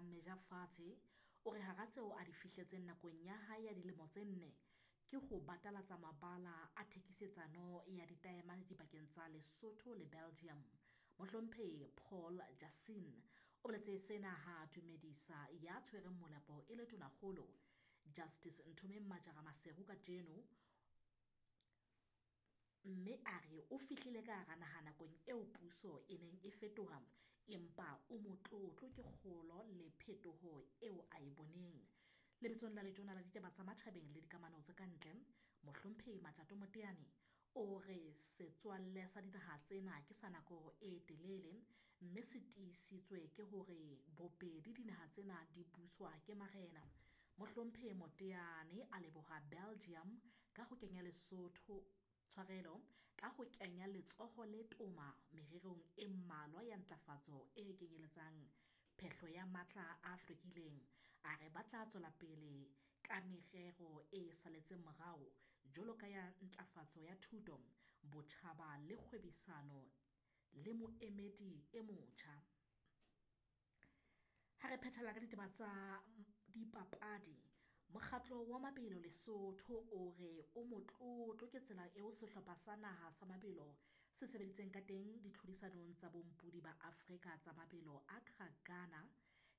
meja fatshe, o re hara tseo a di fihletseng nakong ya hae ya dilemo tse nne ke ho batalatsa mabala a thekisetsano ya ditaemane dipakeng tsa Lesotho le Belgium. Mohlomphehi Paul Jansen o boletse sena ha a dumedisa ya tshwereng molapo e le Tonakgolo Justice Nthomeng Majara Maseru kajeno, mme a re o fihlile ka hara naha nakong eo puso e neng e fetoha, empa o motlotlo ke kgolo le phetoho eo a e boneng. Lebitsong la Letona la Ditaba tsa Matjhabeng le Dikamano tse ka ntle, Mohlomphehi Matjato Moteane o re setswalle sa dinaha tsena ke sa nako e telele, mme se tiisitswe ke hore bobedi dinaha tsena di buswa ke marena. Mohlomphehi Moteane a leboha Belgium ka ho kenya Lesotho tshwarelo ka ho kenya letsoho le toma mererong e mmalwa ya ntlafatso e kenyeletsang phehlo ya matla a hlwekileng. A re ba tla tswela pele ka merero e saletseng morao jwalo ka ya ntlafatso ya thuto, botjhaba le kgwebisano le moemedi e motjha. Ha re phethela ka ditaba tsa dipapadi, mokgatlo wa mabelo Lesotho o re o motlotlo ke tsela eo sehlopha sa naha sa mabelo se sebeditseng ka teng ditlhodisanong tsa bompodi ba Afrika tsa mabelo Accra Ghana,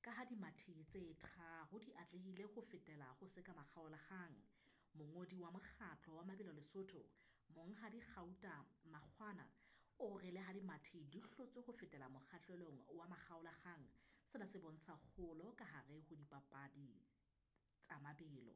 ka ha dimathi tse tharo di atlehile ho fetela ho se ka makgaolakgang. Mongodi wa mokgatlo wa mabelo Lesotho, Monghadi Gauta Makgwana, o re le ha dimathi di hlotswe ho fetela mokgahlelong wa makgaolakgang, sena se bontsha kgolo ka hare ho dipapadi tsa mabelo.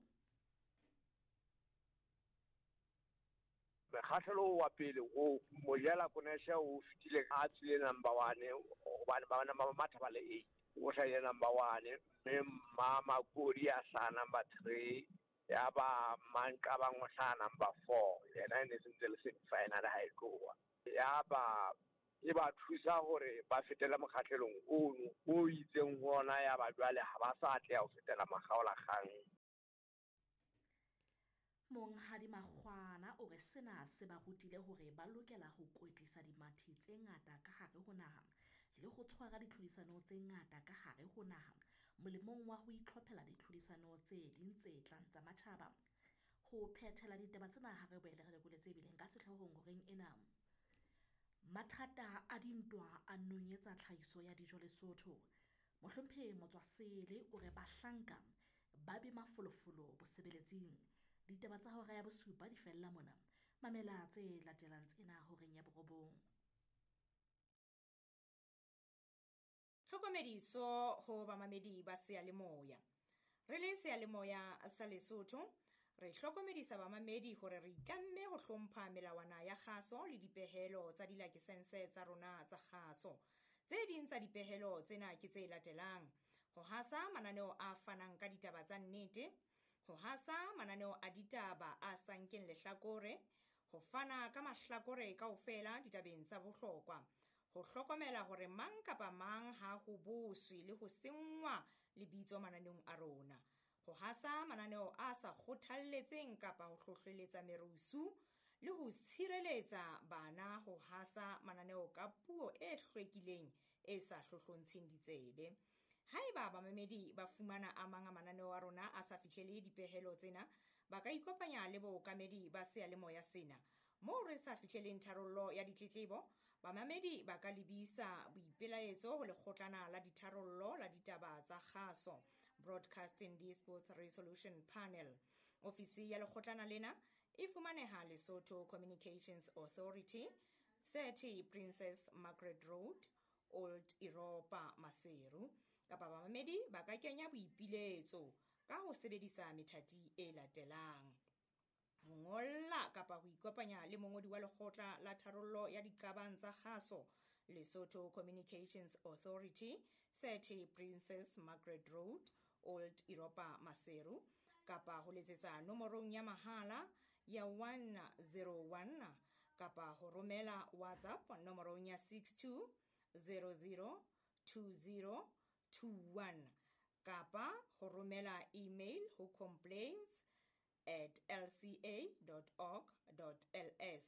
Mokgahlelo wa pele o Mojela Konesha o fetile a tswile number 1 hobane ba bana ba matha ba le 8. O hlahile number 1 mme Mma Makodi a hlaha number 3, ya ba Manqabang o hlaha number 4, yena e ne se ntse le semi-final ha e tloha. Ya ba e ba thusa hore ba fetele mokgahlelong ono o itseng ho ona, ya ba jwale ha ba sa atleha ho fetela makgaolakgang. Monghadi Makgwana o re sena se ba rutile hore ba lokela ho kwetlisa dimathi tse ngata ka hare ho naha le ho tshwara ditlhodisano tse ngata ka hare ho naha molemong wa ho itlhophela ditlhodisano tse ding tse tlang tsa matjhaba. Ho phethela ditaba tsena ha re boele re lekole tse bileng ka sehloohong horeng ena. Mathata a dintwa a nonyetsa tlhahiso ya dijo Lesotho. Mohlomphehi Motswasele o re bahlanka ba be mafolofolo bosebeletsing. Ditaba tsa hora ya bosupa di fella mona. Mamela tse latelang tsena horeng ya borobong. Tlhokomediso ho bamamedi ba seyalemoya. Re le seyalemoya sa Lesotho, re hlokomedisa bamamedi hore re itlamme ho hlompha melawana ya kgaso le dipehelo tsa dilakesense tsa rona tsa kgaso. Tse ding tsa dipehelo tsena ke tse latelang: ho hasa mananeo a fanang ka ditaba tsa nnete, ho hasa mananeo a ditaba a sa nkeng lehlakore, ho fana ka mahlakore kaofela ditabeng tsa bohlokwa, ho hlokomela hore mang kapa mang ha ho boswe le ho senngwa lebitso mananeong a rona, ho hasa mananeo a sa kgothalletseng kapa ho hlohleletsa merusu, le ho tshireletsa bana ho hasa mananeo ka puo e hlwekileng e sa hlohlontsheng ditsebe. Haeba bamamedi ba fumana a mang a mananeo a rona a sa fihlele dipehelo tsena, ba ka ikopanya le bookamedi ba seyalemoya sena. Moo re sa fihleleng tharollo ya ditletlebo, bamamedi ba ka lebisa boipelaetso ho lekgotlana la ditharollo la ditaba tsa kgaso, Broadcasting Disputes Resolution Panel. Ofisi ya lekgotlana lena e fumaneha Lesotho Communications Authority, 30 Princess Margaret Road, Old Europa, Maseru. Kapa bamamedi ba ka kenya boipiletso ka ho sebedisa methati e latelang: ho ngolla kapa ho ikopanya le mongodi wa lekgotla la tharollo ya diqabang tsa kgaso, Lesotho Communications Authority, 30 Princess Margaret Road, Old Europa, Maseru, kapa ho letsetsa nomorong ya mahala ya 101, kapa ho romela WhatsApp nomorong ya 62 00 20 21, kapa ho romela email ho complaints@lca.org.ls,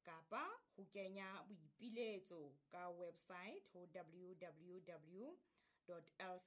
kapa ho kenya boipiletso ka website ho www.lca.org.ls.